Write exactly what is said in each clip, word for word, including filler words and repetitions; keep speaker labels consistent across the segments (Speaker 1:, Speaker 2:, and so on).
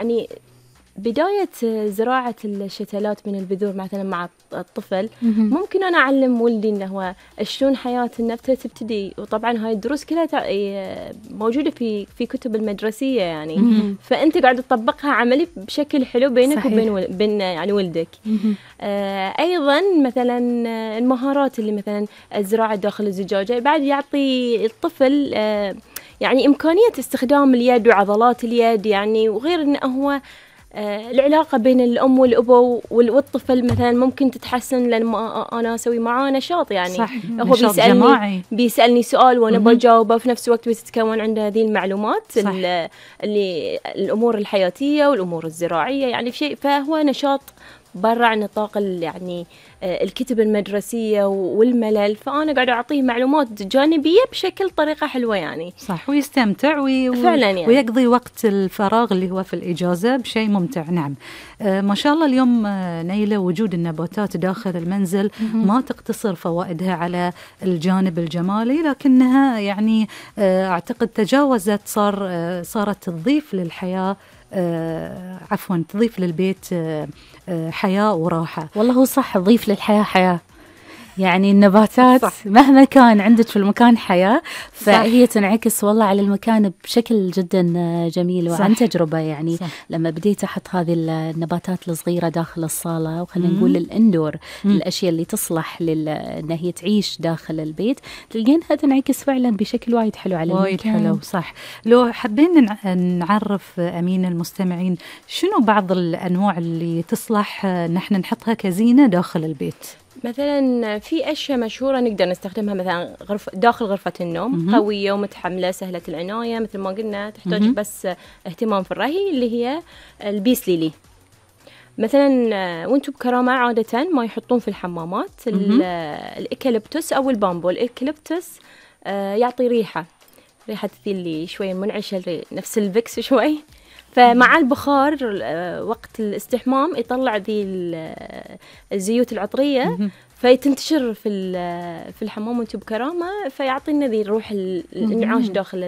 Speaker 1: يعني بداية زراعة الشتلات من البذور مثلا مع الطفل ممكن أنا أعلم ولدي إنه هو شلون حياة النبتة تبتدي، وطبعا هاي الدروس كلها موجودة في في كتب المدرسية يعني، فأنت قاعد تطبقها عملي بشكل حلو بينك صحيح. وبين ول... بين يعني ولدك. آه أيضا مثلا المهارات اللي مثلا الزراعة داخل الزجاجة بعد يعطي الطفل آه يعني إمكانية استخدام اليد وعضلات اليد يعني، وغير إنه هو آه العلاقة بين الأم والأبو والطفل مثلا ممكن تتحسن لما أنا أسوي معاه نشاط يعني
Speaker 2: صح.
Speaker 1: هو
Speaker 2: نشاط
Speaker 1: بيسألني
Speaker 2: جماعي.
Speaker 1: بيسألني سؤال وأنا بجاوبه في نفس الوقت بتتكون عنده هذه المعلومات
Speaker 2: صح.
Speaker 1: اللي الأمور الحياتية والأمور الزراعية يعني في شيء، فهو نشاط برا عن نطاق يعني الكتب المدرسية والملل، فأنا قاعدة أعطيه معلومات جانبية بشكل طريقة حلوة يعني
Speaker 2: صح، ويستمتع وي...
Speaker 1: فعلا يعني.
Speaker 2: ويقضي وقت الفراغ اللي هو في الإجازة بشيء ممتع. نعم. آه ما شاء الله اليوم آه نيلة وجود النباتات داخل المنزل ما تقتصر فوائدها على الجانب الجمالي، لكنها يعني آه أعتقد تجاوزت صار آه صارت تضيف للحياة آه عفوا تضيف للبيت آه آه حياة وراحة.
Speaker 3: والله هو صح، تضيف للحياة حياة يعني النباتات صح. مهما كان عندك في المكان حياة فهي صح. تنعكس والله على المكان بشكل جدا جميل. وعن تجربة يعني صح. لما بديت أحط هذه النباتات الصغيرة داخل الصالة وخلينا نقول الاندور مم. الأشياء اللي تصلح لأنها هي تعيش داخل البيت تلقينها تنعكس فعلا بشكل وايد حلو على
Speaker 2: وايد حلو صح. لو حابين نعرف أمين المستمعين شنو بعض الأنواع اللي تصلح نحن نحطها كزينة داخل البيت؟
Speaker 1: مثلا في أشياء مشهورة نقدر نستخدمها مثلا غرف داخل غرفة النوم م-م. قوية ومتحملة سهلة العناية مثل ما قلنا، تحتاج م-م. بس اهتمام في الري اللي هي البيس ليلي. مثلا وانتم بكرامة عادة ما يحطون في الحمامات الإيكاليبتوس أو البامبو. الإيكاليبتوس يعطي ريحة ريحة اللي شوية منعشة نفس الفيكس شوي، فمع البخار وقت الاستحمام يطلع ذي الزيوت العطرية فيتنتشر في في الحمام وانتو بكرامة، فيعطينا ذي الروح الانعاش داخل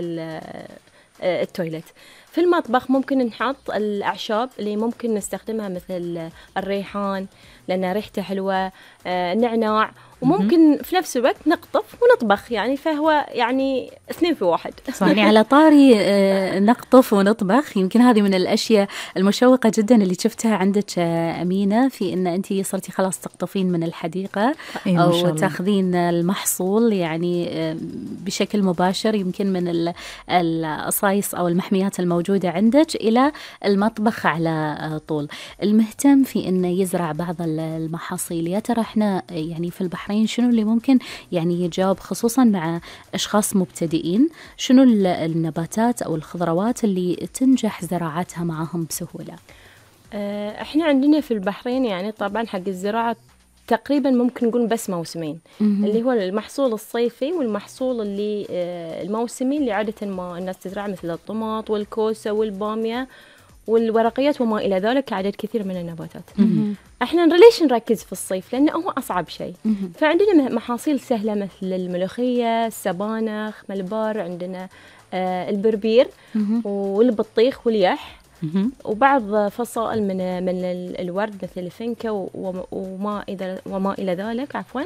Speaker 1: التويلت. في المطبخ ممكن نحط الأعشاب اللي ممكن نستخدمها مثل الريحان لأن ريحته حلوة، نعناع، وممكن في نفس الوقت نقطف ونطبخ يعني، فهو يعني اثنين في واحد.
Speaker 3: يعني على طاري نقطف ونطبخ، يمكن هذه من الأشياء المشوقة جدا اللي شفتها عندك أمينة في إن أنتي صرتي خلاص تقطفين من الحديقة أو تأخذين المحصول يعني بشكل مباشر يمكن من الأصايص أو المحميات الموجودة عندك إلى المطبخ على طول. المهتم في إنه يزرع بعض المحاصيل، يا ترى إحنا يعني في البحرين شنو اللي ممكن يعني يجاوب خصوصا مع أشخاص مبتدئين، شنو النباتات أو الخضروات اللي تنجح زراعتها معهم بسهولة؟
Speaker 1: احنا عندنا في البحرين يعني طبعا حق الزراعة تقريبا ممكن نقول بس موسمين، م-م. اللي هو المحصول الصيفي والمحصول اللي الموسمي اللي عادة ما الناس تزرع مثل الطماط والكوسة والبامية والورقيات وما إلى ذلك، عدد كثير من النباتات. م-م. احنا ليش نركز في الصيف؟ لأنه هو أصعب شيء. م-م. فعندنا محاصيل سهلة مثل الملوخية، السبانخ، ملبار، عندنا آه البربير م-م. والبطيخ واليح، م-م. وبعض فصائل من من الورد مثل الفنكة وما إذا وما إلى ذلك عفوا،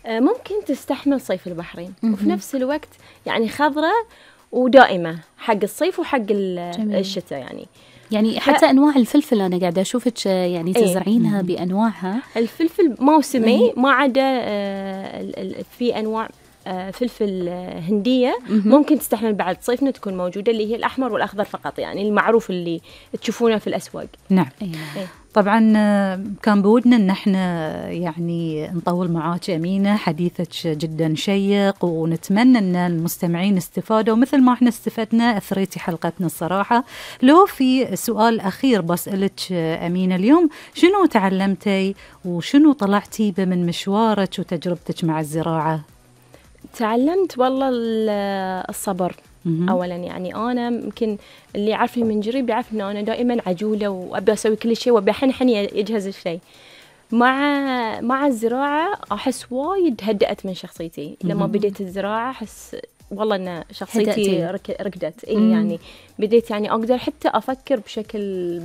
Speaker 1: آه ممكن تستحمل صيف البحرين م-م. وفي نفس الوقت يعني خضرة ودائمة حق الصيف وحق الشتاء يعني.
Speaker 3: يعني حتى ف... أنواع الفلفل أنا قاعدة أشوفك يعني تزرعينها ايه؟ بأنواعها.
Speaker 1: الفلفل موسمي ايه؟ ما عدا آه في أنواع آه فلفل هندية ممكن تستحمل بعد صيفنا تكون موجودة، اللي هي الأحمر والأخضر فقط يعني المعروف اللي تشوفونه في الأسواق.
Speaker 2: نعم. ايه. ايه. طبعا كان بودنا ان احنا يعني نطول معاك أمينة، حديثك جدا شيق ونتمنى ان المستمعين استفادوا مثل ما احنا استفدنا، اثريتي حلقتنا الصراحة. لو في سؤال اخير بسألك أمينة اليوم، شنو تعلمتي وشنو طلعتي من مشوارك وتجربتك مع الزراعة؟
Speaker 1: تعلمت والله الصبر أولاً، يعني أنا يمكن اللي عارفني من جريب يعرف إنه أنا دائماً عجولة وأبي أسوي كل شيء وأبي حن يجهز الشيء. مع مع الزراعة أحس وايد هدأت من شخصيتي. لما بديت الزراعة أحس والله ان شخصيتي ركدت. اي يعني بديت يعني اقدر حتى افكر بشكل